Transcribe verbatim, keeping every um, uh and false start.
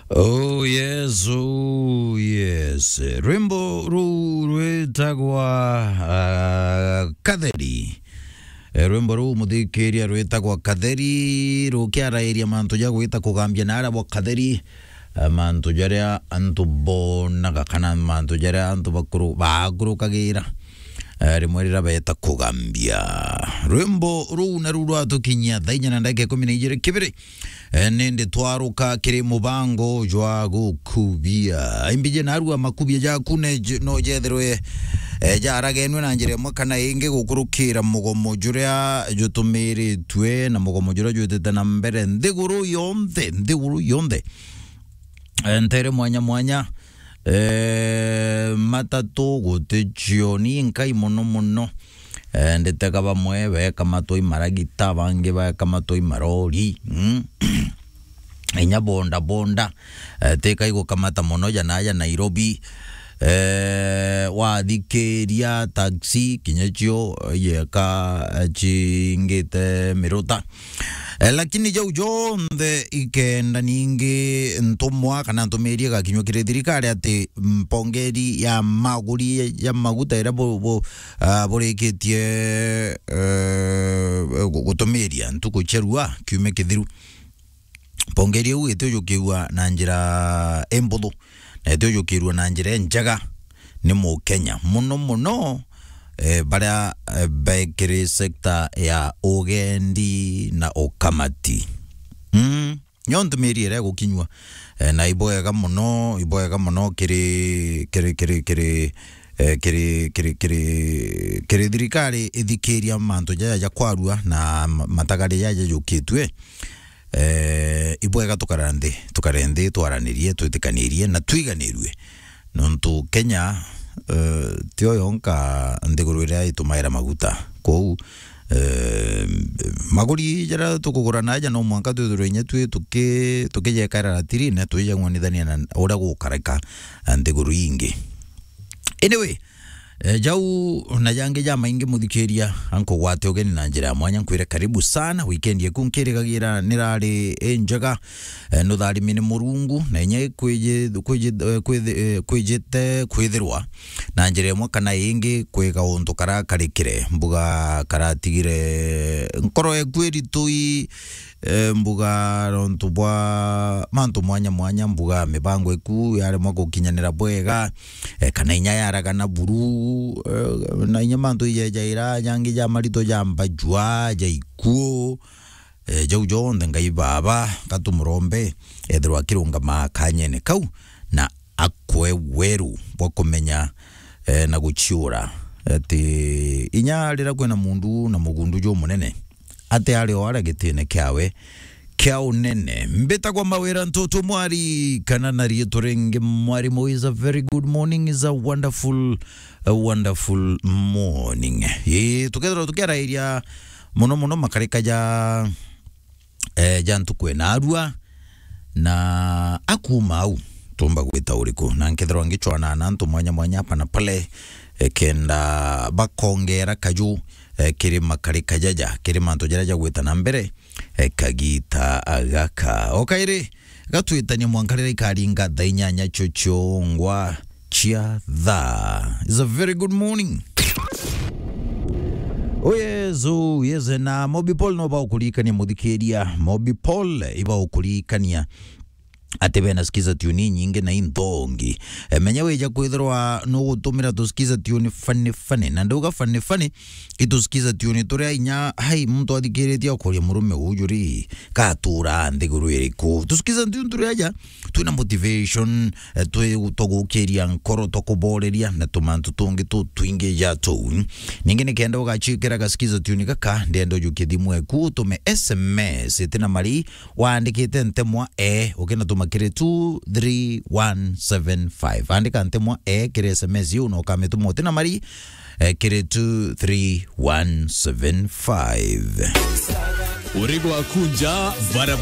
Oh yes, oh yes. Rwimbo ruu rwitagwa, ah, Katheri. Eh, rwimbo ruu, muthikiria, rwitagwa Katheri, rukiarairia mantu ja gwita kugambia na aria bwa Katheri, eh, mantu jaria antu bonaga kana mantu jaria antu bakuru-, bakurukagira, eh, rimwe riria beta kugambia. Rwimbo ruu naru rwatukinyia thaa inya na ndagika ikumi na ijiri kibiri. Eh, nindi twaruka kiri mubango jwa gukubia. Imbiji narua makubia jaku ne j-, no jethirwe, eh, jaragenwe na njira imwe kana ingi gukurukira mugomo juria jutumiritue na mugomo juria jwitite na mbere nthiguru yonthe, nthiguru yonthe. Eh, ntere mwanya mwanya, eh, matatu guti cioni nkai muno muno. Eh, nditega bamwe bekamatwa i maragita, bangi bekamatwa i marori, mm. Inya bonda bonda, eh, tika igukamata muno ja naja Nairobi. Eh, wathikiria taxi, kinya cio, eh, yeka, eh, cingite miruta. Eh, lakini jau jonthe ikenda ningi ntumwa kana ntumirie gakinywa kiri thirikari ati mpongeri ya maguri ya maguta iria bu-, bu-, ah, burikitie, eh, gu-, gutumiria ntuku cia rua kiumia kithiru. Mpongeri iu itijukirua na njira imbuthu, na itijukirua na njira injega ni Mukenya, muno muno, eh, baria, eh, bekiri sector ya ugendi na ukamati. Mm. Nyo ntumirie iria igukinyua, eh, na ibwega muno, ibwega muno kiri, kiri, kiri, kiri, eh, kiri, kiri, kiri, kiri thirikari ithikiria mantu jaja ja kwarua na ma-, matagari jaja jukitue. Eh, ibwega tukara nthi, tukare nthi, twaranirie, twitikanirie na twiganirue. Nontu Kenya, eh, tio yonka nthiguru iria itumaira maguta. Kwou, eh, maguri jaria tukugura na aja no mwanka twithirwe inya twi tuki-, tukijekaira ratirine, twijang'wanithania na uria gukareka nthiguru ingi. Anyway, eh, jau na jangi jamaingi muthikiria, ankugwate ugeni na njira ya mwanya, nkwire karibu sana. Weekend yeku nkirigagira nirari injega, eh, nutharimi ni Murungu, na inya kwiji-, kwiji-, eh, kwithi-, eh, kwijite kwithirwa na njira imwe kana ingi kwi gauntu karakarikire, mbuga karatigire nkoro eku iritui, eh, mbuga nontu bwa mantu mwanya mwanya, mbuga mibango iku yaremwa gukinyanira bwega, eh, kana inya yaragana buru, eh, na inya mantu ijejaira jangi ja marito ja mbajua, ja ikuo, eh, jau jonthe Ngai Baba, gatumurombe, ethirwa akirungama kanyene kau, na akwe weru bwa kumenya, eh, na guciura. Ati inya riria kwina mundu na mugundu jumunene, ati ari o aria gitine kiawe kia unene. Mbitagwa Mawira Ntutu Mwari, kana na riitwa ringi Mwarimu. Is a very good morning, is a wonderful, a wonderful morning. Ii, tukethirwa tukiarairia muno muno makarika ja, eh, ja ntuku ina arua, na akuma au tumba gwita uriku? Na nkethirwa ngicwana na antu mwanya mwanya hapa na pale, eh, kenda bakongera kaju, eh, kiri makarika jaja, kiri mantu jaria jagwita na mbere, eh, kagita gaka. O kairi, gatwitania mwanka riria ikaringa thaa inyanya cio ciongwa cia thaa. It's a very good morning. Oh yes, oh yes, na Mobi Paul no baukuririkania muthikiria. Mobi Paul ibaukuririkania ati bena skiza tune inyingi na inthongi. E, menya wija kwithirwa nugutumira tu skiza tune funny funny. Na ndauga funny funny, itu skiza tune turia inya, hai, muntu athikiritie akuria, murume uju ri, gatura nthiguru iriku? Tu skiza tune turia aja twina motivation, eh, twi twagukiria nkoro, twakuboreria na tumantu tungi tutwingi ja tuu. Ningi nikenda ugacikira ga skiza tune gaka, ndenda ujukie thimu eku, utume S M S itina mari, waandikite ntemwa e, ukinatuma kiri two three one seven five. Andika ntemwa e kiri S M S iu na ukamituma utina mari, eh, kiri two three one seven five. Uri gwaku nja, barabara